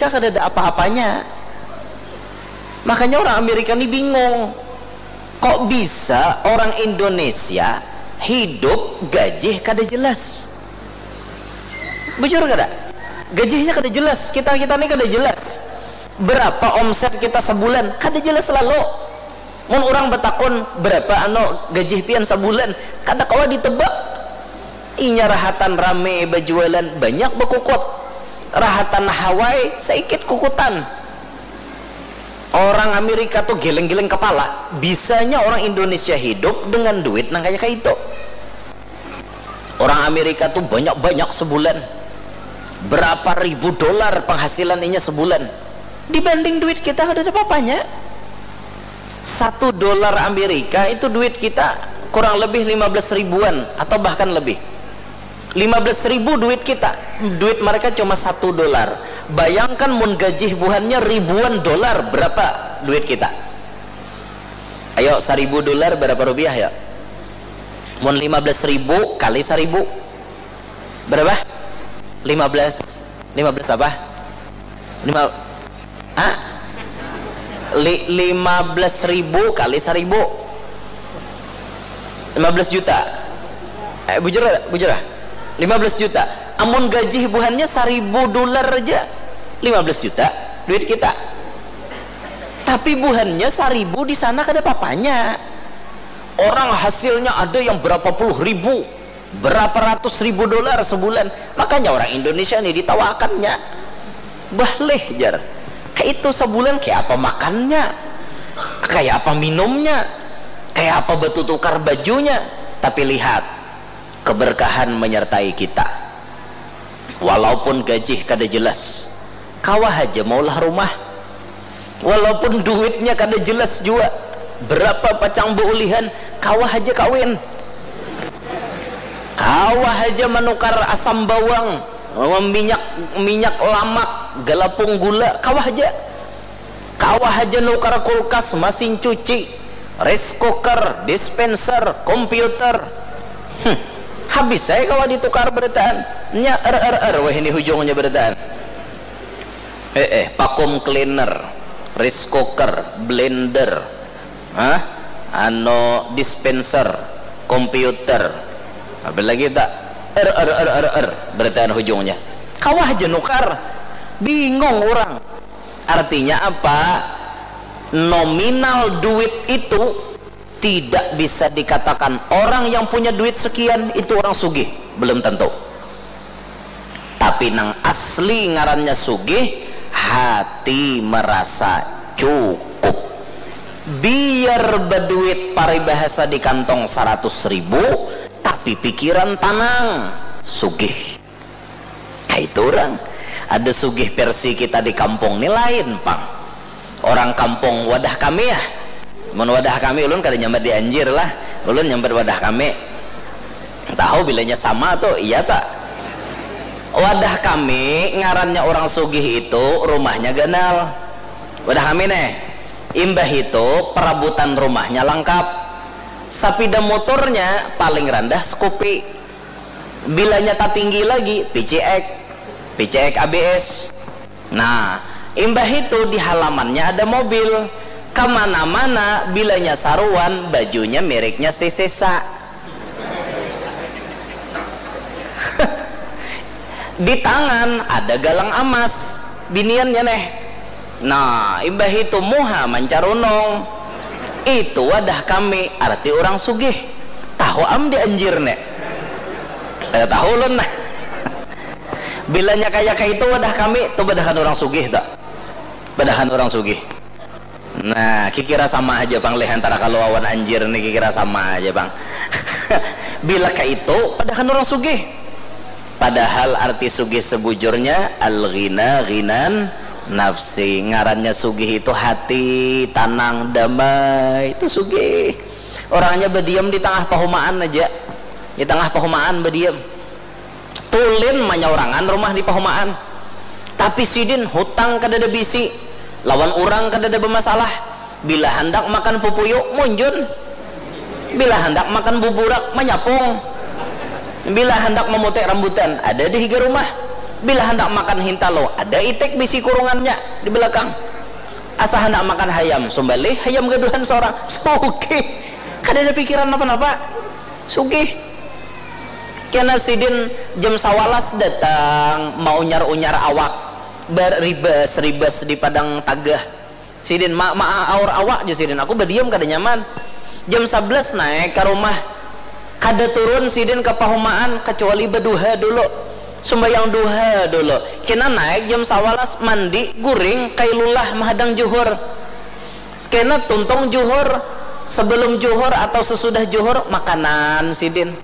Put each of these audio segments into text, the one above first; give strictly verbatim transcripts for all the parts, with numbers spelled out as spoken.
Indonesia kada ada apa-apanya. Makanya orang Amerika ni bingung, kok bisa orang Indonesia hidup gajih kada jelas? Bujur kada? Gajihnya kada jelas, kita kita ni kada jelas. Berapa omset kita sebulan? Kada jelas lalu. Mun orang batakun, berapa anu gajih pian sabulan? Kada kawa ditebak. Inya rahatan rame bajualan, banyak bakukut. Rahatan Hawaii, saikit kukutan. Orang Amerika tu geleng-geleng kepala. Bisanya orang Indonesia hidup dengan duit nang kaya kaitu. Orang Amerika tu banyak-banyak sebulan. Berapa ribu dolar penghasilan inya sebulan. Dibanding duit kita kada ada apa-apanya. Satu dolar Amerika itu duit kita kurang lebih lima belas ribuan atau bahkan lebih. Lima belas ribu duit kita, duit mereka cuma satu dolar. Bayangkan mun gajih buhannya ribuan dolar, berapa duit kita? Ayo, seribu dolar berapa rupiah ya? Mun lima belas ribu kali seribu, berapa? Lima belas. Lima belas apa? Lima, ah? Li-, lima belas ribu kali seribu. Lima belas juta. Eh, bujur, bujur lah. Lima belas juta. Amun gajih buhannya seribu dolar aja, lima belas juta duit kita. Tapi buhannya seribu di sana kada papanya. Orang hasilnya ada yang berapa puluh ribu, berapa ratus ribu dolar sebulan. Makanya orang Indonesia nih ditawakannya. Bahleh, jar. Kayak itu sebulan kayak apa makannya? Kayak apa minumnya? Kayak apa batu tukar bajunya? Tapi lihat, keberkahan menyertai kita. Walaupun gajih kada jelas, kawa haja maulah rumah. Walaupun duitnya kada jelas jua, berapa pacang beulihan, kawa haja kawin. Kawa haja manukar asam bawang, minyak, minyak lamak, galapung gula, kawa haja. Kawa haja nukar kulkas, masin cuci, rice cooker, dispenser, komputer. Hmm. Habis saya kawa ditukar berataan. Nya er er er weh ini hujungnya berataan. Eh, eh, vacuum cleaner, rice cooker, blender, hah? Anu, dispenser, komputer. Apa lagi tak? Er er er er er berataan hujungnya. Kawa haja nukar. Bingung orang. Artinya apa? Nominal duit itu tidak bisa dikatakan orang yang punya duit sekian itu orang sugih, belum tentu. Tapi nang asli ngarannya sugih, hati merasa cukup. Biar baduit paribahasa di kantong saratus ribu, tapi pikiran tanang, sugih. Kaitu urang. Ada sugih versi kita di kampung ni lain pang. Orang kampung wadah kami ya. Mun wadah kami, ulun kada nyambat di Anjir lah. Ulun nyambat wadah kami. Tahu bilanya sama tu, iya tak? Wadah kami ngarannya orang sugih itu rumahnya ganal. Wadah kami neh. Imbah itu perabutan rumahnya langkap. Sapida motornya paling randah Scoopy. Bilanya tatinggi lagi, P C X, P C X A B S. Nah, imbah itu di halamannya ada mobil. Kamana-mana bilanya saruan, bajunya mereknya Sesesa. Di tangan ada galang amas, biniannya neh. Nah, imbah itu muha mancarunung. Itu wadah kami, arti orang sugih. Tahu am di Anjir nek? Kada tahu ulun nah. Bilanya kaya kaitu wadah kami, tu badahan orang sugih tak? Badahan orang sugih. Nah, kikira sama aja pang leh antara kalu awan Anjir ni, kikira sama aja pang. Bila kaitu, padahan orang sugih. Padahal arti sugih sebujurnya al-ghina ghinan nafsi. Ngarannya sugih itu hati, tanang, damai. Itu sugih. Orangnya badiam di tangah pahumaan aja. Di tangah pahumaan badiam. Tulin manyaurangan rumah di pahumaan. Tapi sidin hutang kadada bisi, lawan urang kadada bamasalah. Bila handak makan pupuyu, munjun. Bila handak makan buburak, manyapung. Bila handak mamutik rambutan, ada di higa rumah. Bila handak makan hintalo, ada itik bisi kurungannya di belakang. Asa handak makan hayam, sumbalih hayam gaduhan seorang. Sugih. Kada ada pikiran apa-apa. Sugih. Kena sidin jam sawalas datang, maunyar-unyar awak, beribas-ribas di padang tagah. Sidin ma ma aur awak je sidin, aku badiam kada nyaman. Jam sabelas naik ka rumah, kada turun sidin ka pahumaan kacuali baduha dulu, sumbayang duha dulu. Kena naik jam sawalas, mandi, guring, kailulah mahadang juhur. Kena tuntung juhur, sebelum juhur atau sesudah juhur makanan sidin.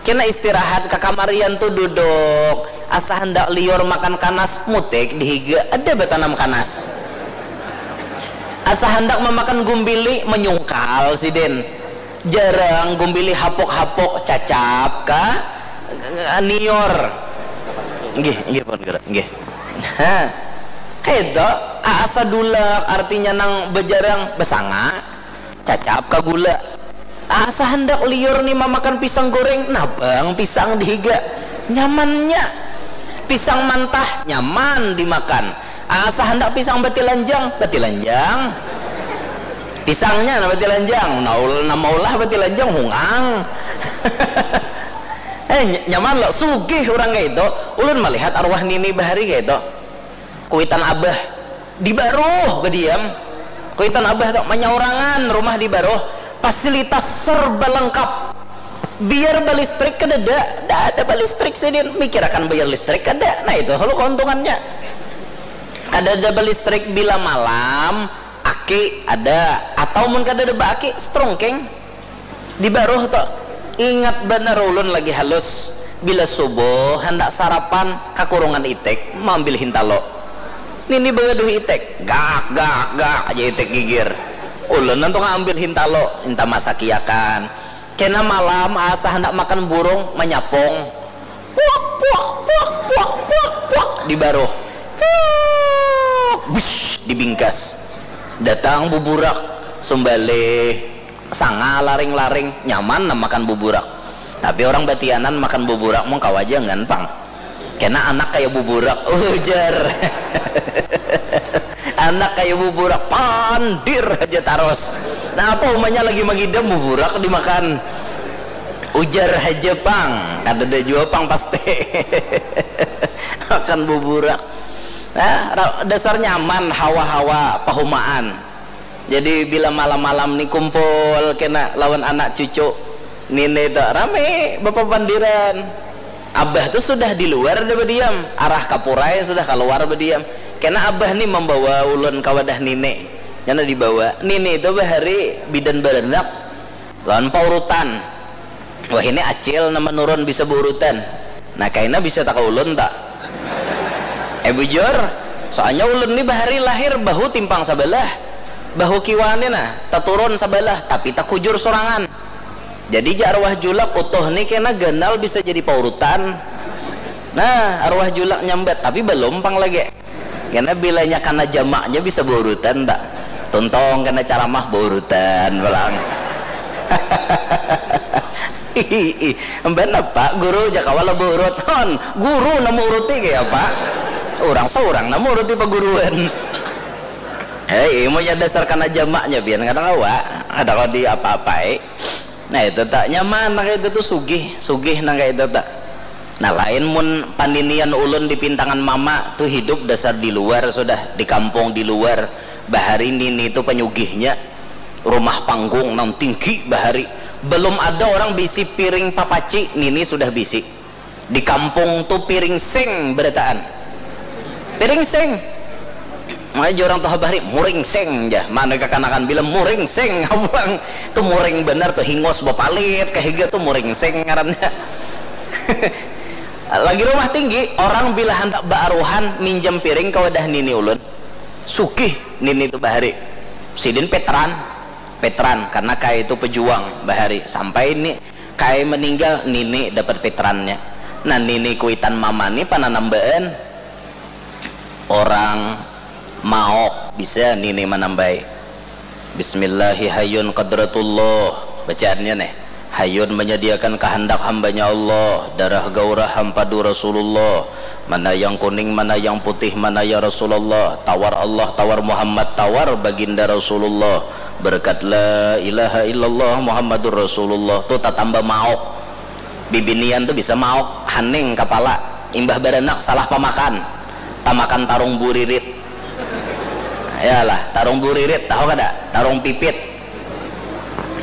Kena istirahat, kakamarian tu duduk, asa handak liur makan kanas, mutik di higa, ada batanam kanas. Asa handak mamakan gumbili, manyungkal sidin. Jarang gumbili hapuk-hapuk, cacap ka niur. Nggih, nggih pun guru, nggih. Ha. Kaitu, asa dulak artinya nang bajarang, basanga. Cacap ka gula. Asa handak liur ni mamakan pisang goreng, nabang pisang di higa. Nyamannya. Pisang mantah, nyaman dimakan. Asa handak pisang batilanjang, batilanjang. Pisangnya nah batilanjang, nah, ul- nah maulah batilanjang, hungang. Eh, ny- nyaman lo, sugih urang kaitu. Ulun malihat arwah nini bahari kaitu. Kuitan abah di baruh badiam. Kuitan abah tu manyaurangan rumah di baruh, fasilitas serba lengkap. Biar balistrik kadada, kada ada balistrik sidin, mikirakan bayar listrik kada. Nah, itu lo keuntungannya. Kadada balistrik bila malam, aki ada, atau mun kadada baaki, strungking. Di baruh tu, ingat banar ulun lagi halus, bila subuh handak sarapan ka kurungan itik maambil hintalo. Nini bagaduh itik, gak gak gak aja itik gigir. Ulun nantu ngaambil hintalo, inta masakiakan. Kena malam asa handak makan burung, manyapung. Puak puak puak puak puak puak di baruh. Puak, bish, di bingkas. Datang buburak, sumbalih, sanga laring-laring, nyaman nah makan buburak. Tapi orang batianan makan buburak mung kawa jangan pang. Kena anak kaya buburak, ujar. Anak kaya buburak, pandir haja tarus. Nah, apa umanya lagi mangidam buburak dimakan. Ujar haja pang, kadada jua pang pasti. Makan buburak. Nah, ra- dasar nyaman hawa-hawa pahumaan. Jadi bila malam-malam ni kumpul kena lawan anak cucu nini tu rame bapapandiran. Abah tu sudah di luar dah badiam, arah kapurai sudah kaluar badiam. Kena abah ni mambawa ulun ka wadah nini. Kena dibawa. Nini tu bahari bidan baranak lawan paurutan. Wahini acil nang manurun bisa baurutan. Nah, kaina bisa taka ulun ta? Eh, bujur, soalnya ulun ni bahari lahir bahu timpang sabalah, bahu kiwa ni nah taturun sabalah, tapi takujur surangan. Jadi jar arwah julak, utuh ni kena ganal bisa jadi paurutan. Nah, arwah julak nyambat, tapi balum pang lagi. Kena bilanya kana jamaknya bisa baurutan ta? Tuntung kena caramah baurutan pulang. Mbak napa guru ja kawa lah baurut? Hon, guru nang mauruti kaya apa? Urang saurang nang mauruti paguruan. Hei, imunnya dasar kana jamaknya pian kada kawa, kada kawa diapa-apai. Nah, itu tak nyaman nang kaya itu tu, sugih, sugih nang kaya itu tak. Nah, lain mun paninian ulun di pintangan mama tu hidup dasar di luar sudah, di kampung di luar. Bahari nini tu panyugihnya, rumah panggung nang tinggi bahari. Belum ada orang bisi piring papaci, nini sudah bisi. Di kampung tu piring sing berataan. Piring sing. Makanya orang tuh bahari muring sing ja. Mana kakanakan bila muring sing pulang tu muring benar tu, hingus bapalit kahiga tu muring sing ngarannya. Lagi rumah tinggi, orang bila handak baaruhan minjam piring ke wadah nini ulun. Sugih nini tu bahari. Sidin petran, petran karena kaya itu pejuang bahari sampai ni Kai meninggal, nini dapat pitrannya. Nah, nini kuitan mama ni pananambaan orang maok, bisa nini manambai. Bismillahi hayun qadratullah. Bacaannya nih. Hayun menyediakan kehendak hambanya Allah, darah gaurah hampadu Rasulullah, Mana yang kuning, mana yang putih, mana ya Rasulullah? Tawar Allah, tawar Muhammad, tawar baginda Rasulullah. Berkat la ilaha illallah Muhammadur Rasulullah tu tatamba mauk. Bibinian tu bisa mauk, haning kapala, imbah baranak salah pamakan, tamakan tarung buririt. Yalah, tarung buririt, tahu kada? Tarung pipit.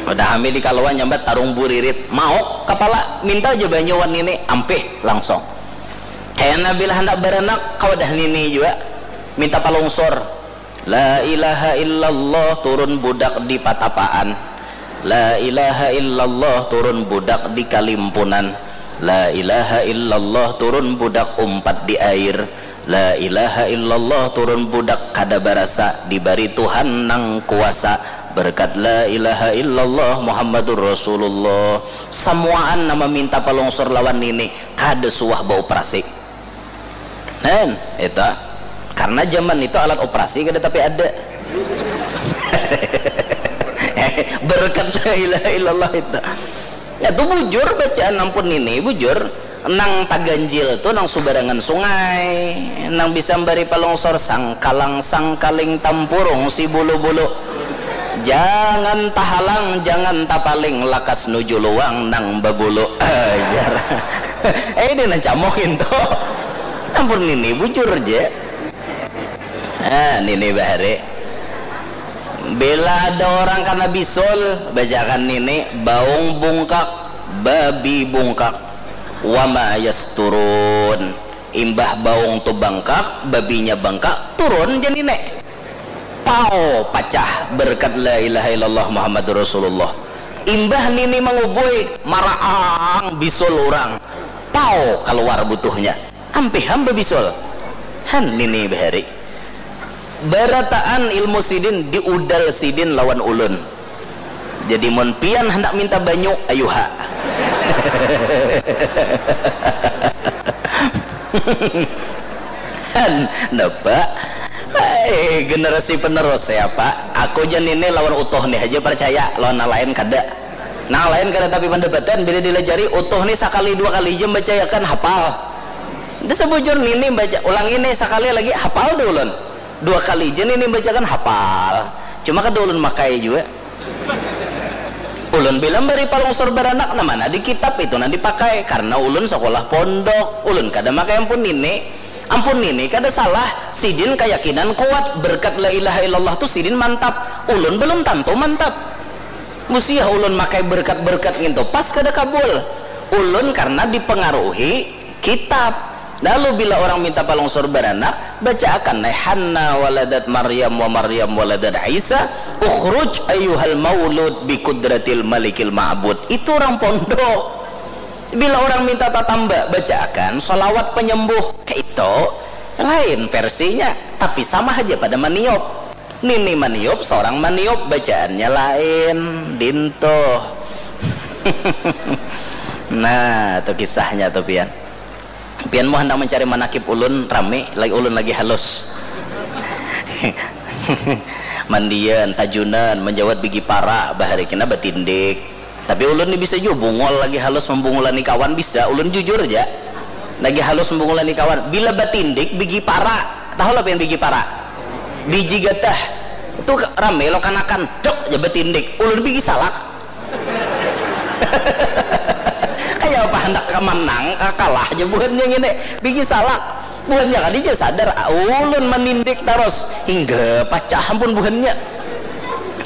Udah hami di kaluan nyambat tarung buririt, mauk kapala, minta aja banyu wan nini, ampih langsung. Kayana bila handak baranak, kawadah nini jua minta palungsur. La ilaha illallah turun budak di patapaan. La ilaha illallah turun budak di kalimpunan. La ilaha illallah turun budak umpat di air. La ilaha illallah turun budak kada barasa dibari Tuhan nang kuasa. Berkat la ilaha illallah Muhammadur Rasulullah. Samuaan nama minta palungsur lawan nini kada suah bauprasi. Hen, itu. Karena zaman itu alat operasi kada tapi ada. Berkat la ilaha illallah itu. Ya tu bujur bacaan ampun nini, bujur. Nang taganjil tu nang subarangan sungai, nang bisa mbari palungsor sangkalang sangkaling tampurung si bulu-bulu. Jangan tahalang, jangan tapaling, lakas nuju luang nang babulu. Ajar. Eh, ini nang camoh itu. Ampun nini bujur je. Ah, nini bahari. Bila ada orang kana bisul, bacakan nini, baung bungkak, babi bungkak, wama yasturun. Imbah baung tu bangkak, babinya bangkak, turun ja nini. Pau pacah berkat la ilaha illallah Muhammadur Rasulullah. Imbah nini mangubui, maraang bisul urang. Pau kaluar butuhnya. Ampih ham babisul. Han nini bahari. Barataan ilmu sidin diudal sidin lawan ulun. Jadi mun pian handak minta banyu, ayuha. Han, napa? Ai, generasi penerus ya, Pak. Aku jan ini lawan utuh nih aja percaya, lawan nang lain kada. Nang lain kada tapi pendapatan, bila dilajari utuh nih sakali dua kali aja membacayakan hafal. Dia sebujur nini baca, ulang ini sakali lagi hafal deh ulun. Dua kali aja nini bacakan hafal. Cuma kada ulun makai juga. Ulun bila bari palungsur baranak, nah mana di kitab itu nang dipakai, karena ulun sekolah pondok, ulun kada makai ampun nini. Ampun nini kada salah, sidin kayakinan kuat, berkat la ilaha illallah tu sidin mantap. Ulun belum tantu mantap. Musiah ulun makai berkat-berkat ngintu pas kada kabul. Ulun karena dipengaruhi kitab. Lalu bila orang minta palungsur baranak, bacaakan neh Hanna waladat Maryam wa Maryam waladat Isa, ukhruj ayyuhal maulud bi kudratil malikil ma'bud. Itu orang pondok. Bila orang minta tatamba, bacaakan salawat penyembuh. Kayak itu, lain versinya, tapi sama aja pada maniup. Nini maniup, seorang maniup, bacaannya lain, dintuh. Nah, itu kisahnya tuh pian. Pian mau hendak mencari manakib ulun, rame, lagi ulun lagi halus. Mandian, tajunan, menjawat bigi para, bahari kena batindik. Tapi ulun ni bisa jua bungul lagi halus membungulani kawan, bisa. Ulun jujur aja. Lagi halus membungulani kawan. Bila batindik, bigi para. Tahu lah pian bigi para? Biji gatah. Itu rame lo kanakan. Dok, aja batindik. Ulun bigi salak. Kayak apa hendak ka manang, ka kalah aja buhannya ngini. Bigi salak. Buhannya kadi aja sadar, ah, ulun manindik taros. Hingga pacah ampun buhannya.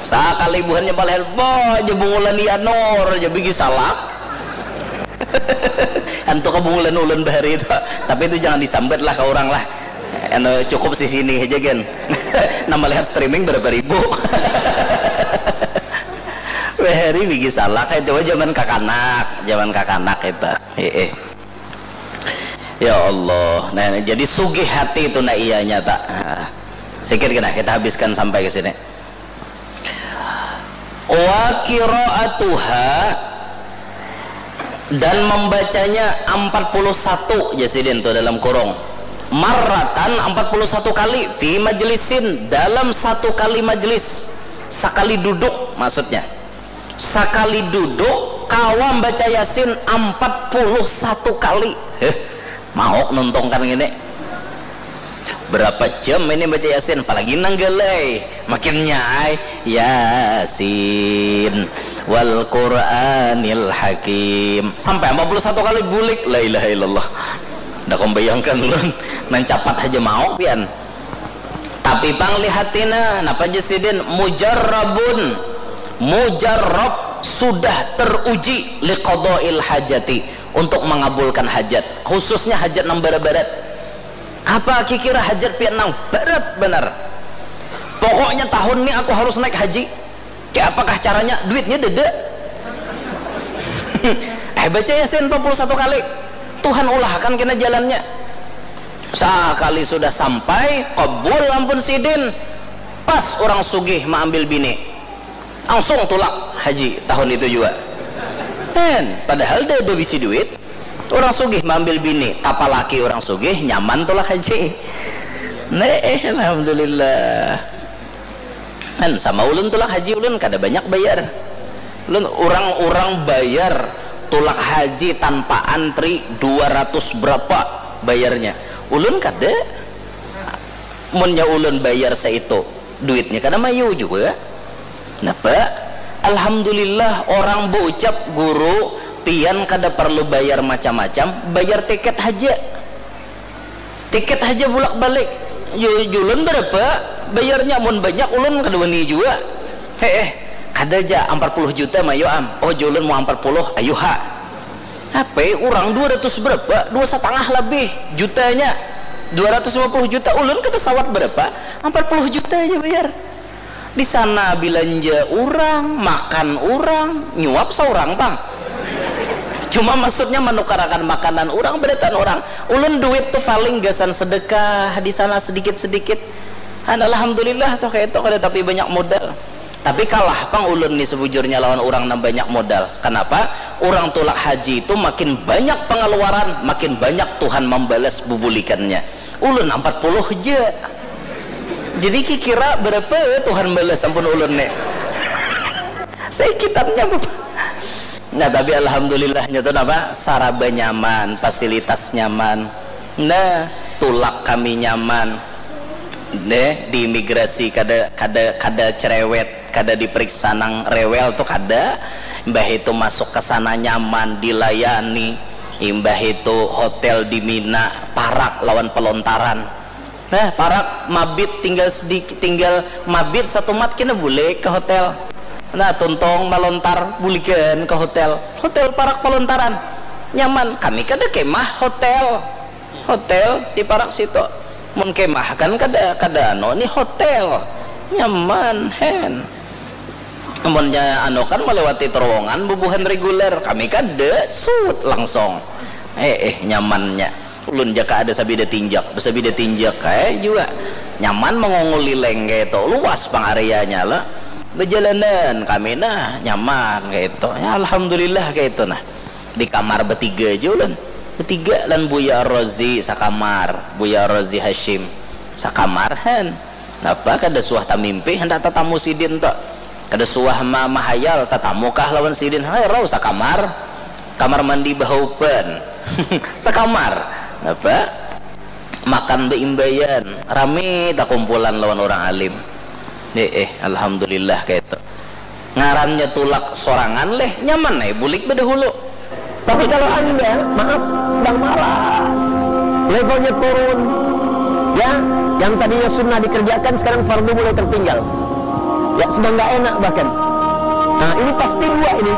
Sakali buhannya balahan, bah, aja bungulan Yanur, aja bigi salak. Antu kabungulan ulun bahari itu. Tapi itu jangan disambat lah ke orang lah. Anu, cukup sih sini aja, gen. Nama lihat streaming berapa ribu. Bahari bigi salak, eh, coba zaman kakanak, zaman kakanak itu. Eh, eh. Ya Allah. Nah, jadi sugih hati itu nak iya nyata. Nah, sikit kena kita habiskan sampai ke sini. Wa qiraatuha, dan membacanya empat puluh satu, jasidin tu dalam kurung. Marratan, empat puluh satu kali, fi majlisin, dalam satu kali majlis. Sakali duduk maksudnya. Sakali duduk kawa baca Yasin empat puluh satu kali. Heh. Mau nuntungkan gini. Berapa jam ini baca Yasin, apalagi nang galai, makin nyaai. Yasin wal Qur'anil Hakim sampai empat puluh satu kali bulik, la ilaha illallah. Ndak membayangkan ulun, nang capat aja mau pian. Tapi pang lihatina, napa aja sidin, mujarrabun, mujarrab, sudah teruji, liqadail hajati, untuk mengabulkan hajat, khususnya hajat nang barat-barat. Apa kikira hajat pian nang barat banar? Pokoknya tahun ini aku harus naik haji. Kayak apakah caranya? Duitnya dede. Eh, baca Yasin empat puluh satu kali. Tuhan ulahkan kena jalannya. Sekali sudah sampai, kabul ampun sidin. Pas orang sugih maambil bini. Langsung tulak haji tahun itu juga. Kan, padahal dia ada bisi duit. Orang sugih maambil bini, tapalaki orang sugih, nyaman tulak haji. Nah, eh, alhamdulillah. Kan sama ulun tulak haji, ulun kada banyak bayar. Ulun, orang-orang bayar tulak haji tanpa antri dua ratus berapa bayarnya. Ulun kada. Munnya ulun bayar saitu, duitnya kada mayu juga. Napa? Alhamdulillah, orang baucap, guru, pian kada perlu bayar macam-macam, bayar tiket haja. Tiket haja bulak balik. Ju-, julun berapa bayarnya? Mun banyak, ulun kada wani jua. He eh, kada ja, ampar puluh juta mayu am. Oh, julun mau ampar puluh, ayu ha. Apa, urang dua ratus berapa? Dua satangah labih jutanya. Dua ratus lima puluh juta, ulun kada sawat berapa? Ampar puluh juta aja bayar. Di sana bilanja urang, makan urang, nyuap saurang pang. Cuma maksudnya manukarakan makanan urang, barataan urang. Ulun duit tu paling gasan sedekah di sana sedikit-sedikit. Han, alhamdulillah tuh kayak itu kada tapi banyak modal. Tapi kalah pang ulun nih sebujurnya lawan urang nang banyak modal. Kenapa? Urang tulak haji itu makin banyak pengeluaran, makin banyak Tuhan membalas bubulikannya. Ulun ampar puluh ja. Jadi kikira berapa Tuhan balas ampun ulun nih? Saikitannya, Bapak. Nah, tapi alhamdulillahnya tuh apa? Saraba nyaman, fasilitas nyaman. Nah, tulak kami nyaman. Deh, di imigrasi kada, kada, kada cerewet, kada diperiksa nang rewel tuh kada. Imbah itu masuk ke sana nyaman, dilayani. Imbah itu hotel di Mina, parak lawan pelontaran. Nah, parak mabit tinggal sedikit, tinggal mabit satu mat kena bulik ke hotel. Nah, tuntong malontar bulikan ke hotel. Hotel parak pelontaran. Nyaman, kami kada kemah hotel. Hotel di parak situ. Mun kemah kan kada, kada anu, ni hotel. Nyaman, hen. Munnya anu kan melewati terowongan bubuhan reguler, kami kada, sut langsung. Eh, eh, nyamannya. Ulun jaka ada sabida tinjak, basabida tinjak kayak juga. Nyaman mengongol lileng kayak itu, luas pang areanya lah. Bejalanan kami nah, nyaman kayak itu. Ya, alhamdulillah kayak itu nah. Di kamar betiga aja ulun. Betiga lan Buya Rozi sakamar, Buya Rozi Hashim sakamar han. Napa kada suah tamimpi hendak tatamu sidin tu. Kada suah ma mahayal tatamu kah lawan sidin. Hai rau sakamar. Kamar mandi bahaupan. Sakamar. Napa? Makan beimbaian. Rami takumpulan lawan orang alim. Eh, eh, alhamdulillah kaitu. Ngarannya tulak sorangan leh, nyaman ai bulik bedahulu. Tapi kalau anda, maaf, sedang malas, levelnya turun, ya, yang tadinya sunnah dikerjakan sekarang fardu mulai tertinggal, ya, sedang nggak enak bahkan. Nah, ini pasti dua ini.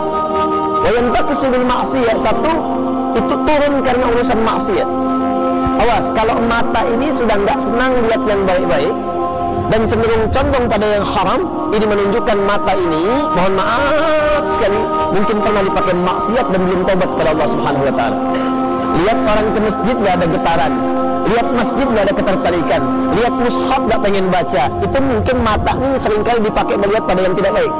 Wayan takusu bil maksiyah, satu, itu turun karena urusan maksiat. Awas, kalau mata ini sudah nggak senang lihat yang baik-baik, dan cenderung condong pada yang haram, ini menunjukkan mata ini, mohon maaf sekali, mungkin pernah dipakai maksiat dan belum tobat kepada Allah Subhanahu wa Ta'ala. Lihat orang ke masjid nggak ada getaran, lihat masjid nggak ada ketertarikan, lihat mushaf nggak pengen baca, itu mungkin mata ini seringkali dipakai melihat pada yang tidak baik.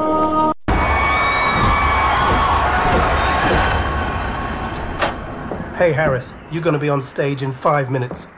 Hey Harris, you're gonna be on stage in five minutes.